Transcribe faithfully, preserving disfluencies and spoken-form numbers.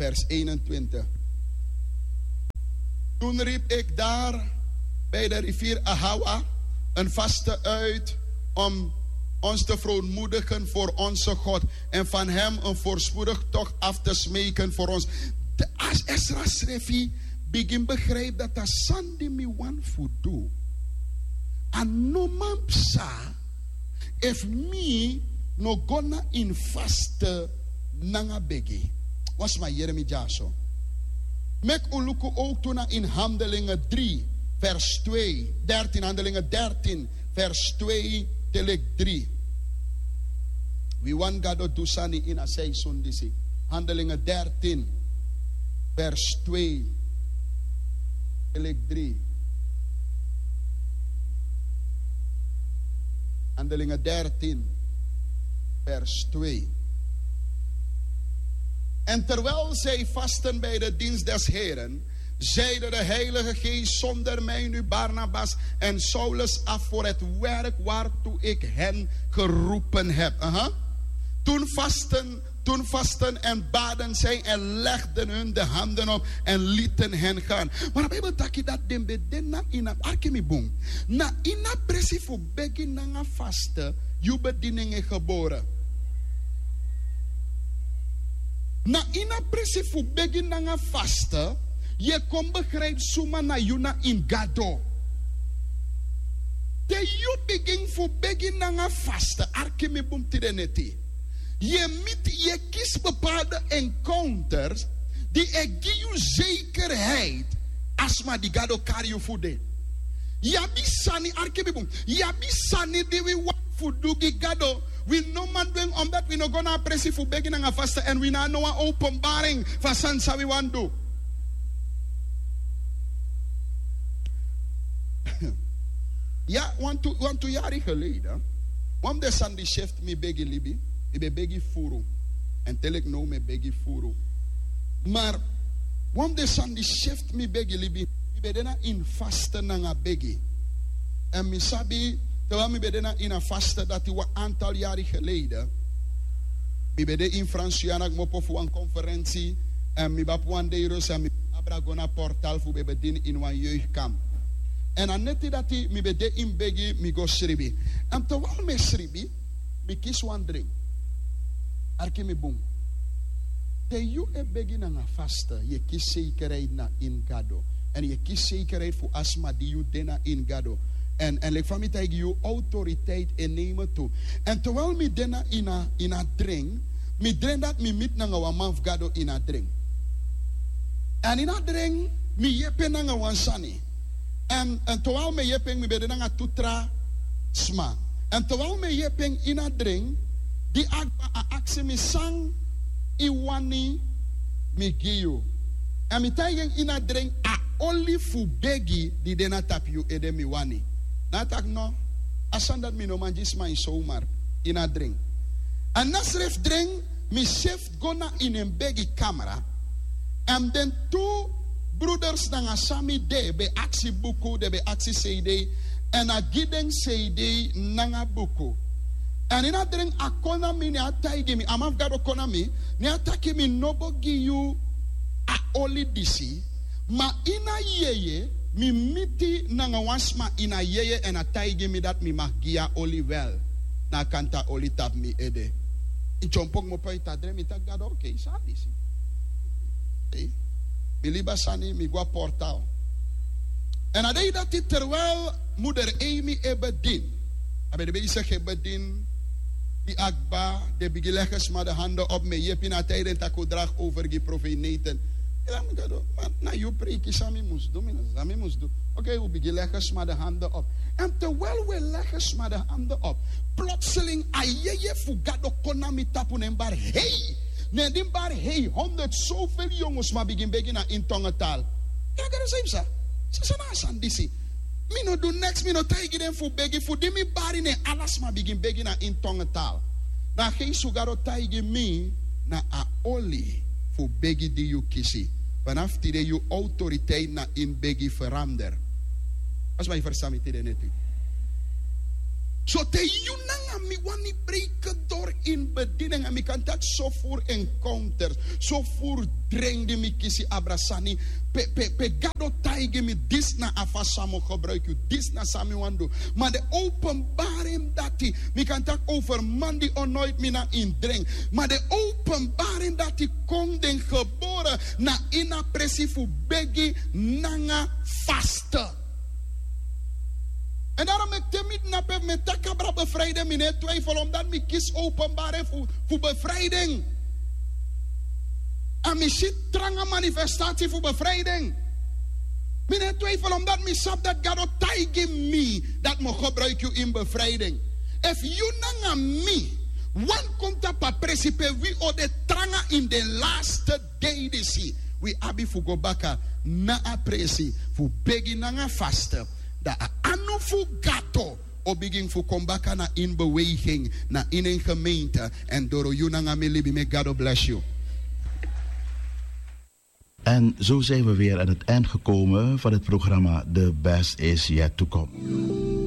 Vers eenentwintig. Toen riep ik daar bij de rivier Ahawa een vaste uit om ons te verontmoedigen voor onze God en van hem een voorspoedig tocht af te smeken voor ons. De, als Esra srefi begin begrijp dat a sani di mi wani fu du, a no man psa efu mi no go na ini faste nanga begi. Wan sma yere mi dyaso. Meki un luku ook tu na ini Handelingen drie, vers twee, dertien, Handelingen dertien, vers twee te leki drie. Wi wani Gado du sani ini a seizoen disi. Handelingen dertien, vers twee te leki drie. Handelingen dertien, vers twee. En terwijl zij vasten bij de dienst des Heren, zeide de Heilige Geest: "Zonder mij nu Barnabas en Saulus af voor het werk waartoe ik hen geroepen heb." Aha. Toen vasten, toen vasten en baden zij en legden hun de handen op en lieten hen gaan. Maar de Bijbel taki dat den ben de na ini a, arki mi bun. Na ini a presi fu begi nanga faste yu bediening e gebore. Na ini a presi fu begi nanga faste yu e kon begrijp suma na yu na ini Gado. Te yu bigin fu begi nanga faste, arki mi bun tide neti. Yu e miti, yu e kisi bepaalde encounters di e gi yu zekerheid a sma di Gado kari yu fu de. Yu abi sani, arki mi bun. Yu abi sani di wi wani fu du gi Gado. Wi no man du en omdat wi no go na a presi fu begi nanga faste èn wi no abi no wan openbaring fu a sani san wi wani du. Ya, wantu, wantu yari geleden, wan fu den sani di sefti mi begi libi, mi ben begi furu. Èn te leki now mi e begi furu. Maar wan fu den sani di sefti mi begi libi, mi ben de na ini faste nanga begi. Èn mi sabi, terwijl mi ben de na ini a faste dati wan aantal yari geleden, mi ben de ini Frans-Guyana kmopo fu wan konferensi. Èn mi ben abi wan dei rust èn mi abra go na portal fu ben bedini ini wan jeugdkamp. Èn a neti dati mi ben de ini begi, mi go sribi. Èn terwijl mi e sribi, mi kisi wan dring. Arki mi bun. Te yu e begi nanga faste, yu e kisi zekerheid na ini Gado. Èn yu e kisi zekerheid fu a sma di yu de na ini Gado. Èn, èn leki fa mi taigi yu, autoriteit e nemen tu. Èn terwijl mi de na ini a, ini a dring, mi dring dati mi miti nanga wan man fu Gado ini a dring. Èn ini a dring, mi yepi en nanga wan sani. Èn, èn terwijl mi e yepi en, mi ben de nanga tu tra sma. Èn terwijl mi e yepi en ini a dring, di a kba, a aksi mi san yu wani mi gi yu. Èn mi taigi en ini a dring, a oli fu begi di de na tapu yu ede mi wani. Na a taki no, a sani dati mi no man gi sma ini zomaar, ini a dring. Èn na srefi dring, mi srefi go na ini en begi kamra. Èn den tu broeders nanga san mi de ben aksi buku, den ben aksi seidei. Èn a gi den seidei nanga buku. Èn ini a dring a kon na mi, ne a taigi mi, a man fu Gado kon na mi, ne a taki mi no bo gi yu a oli disi. Ma ini a yeye, mi miti nanga wan sma ini a yeye èn a taigi mi dati mi mag gi yu a oli wel. Na a kanta oli tapu mi ede. Mi dyompo kmopo ini a dring, mi taki Gado, okei, san a disi? Okei. Mi libi a sani, mi go na portal. Èn a dei dati terwijl moeder Amy e bedini. A ben de bezig e bedini. Di a kba, den bigin legi sma de handen op, mi e yepi na a tide den taki un draag over gi profeet Nathan. Mi taki mi Gado, ma na yu preiki san mi mus du, mi no sabi san mi mus du. Okei, un bigin legi sma de handen op. Èn terwijl un e legi sma de handen op, plotseling a yeye fu Gado kon na mi tapu, ne en bari hei. Ne di en bari hei, honderd zoveel yongu sma bigin begi na ini tongentaal. Ya, Gado, san yu psa? San, san na a sani disi? Mi no du neks, mi no taigi den fu begi, fu di mi bari ne ala sma bigin begi na ini tongentaal. Na a geest fu Gado taigi mi, na a oli fu begi di yu kisi. Vanaf tide yu autoriteit na ini begi verander. Als mi verstaan mi tide neti. So te yu nanga mi wani breken dori ini bedini nanga mi kan taki so furu encounters, so furu dren di mi kisi abra sani pe gado taigi mi disi na a fasi san mi o gebruiki yu, disi na san mi wani du. Ma den openbari en dati, mi kan taki over man di o noiti mi na ini dren. Ma den openbari en dati kon den gebore na ini a presi fu begi nanga faste. Èn daro meki te mi dini ape fu mi e taki abra befriyden mi no e twijfel omdati mi kisi openbari en fu befriyden. A mi si tranga manifestati fu befriyden. Mi no e twijfel omdati mi sabi dati gado taigi mi dati mi o gebruiki yu ini befriyden. Efu yu nanga mi wani kon tapu a presi pe wi o de tranga ini den laste dei disi, wi abi fu go baka na a presi fu begi nanga faste, dan a anu fu gato o bigin fu kon baka na ini beweging, na ini en gemeente. Èn doro yu nanga mi libi, meki gado blesi yu. En zo zijn we weer aan het eind gekomen van het programma De Best Is Yet To Come.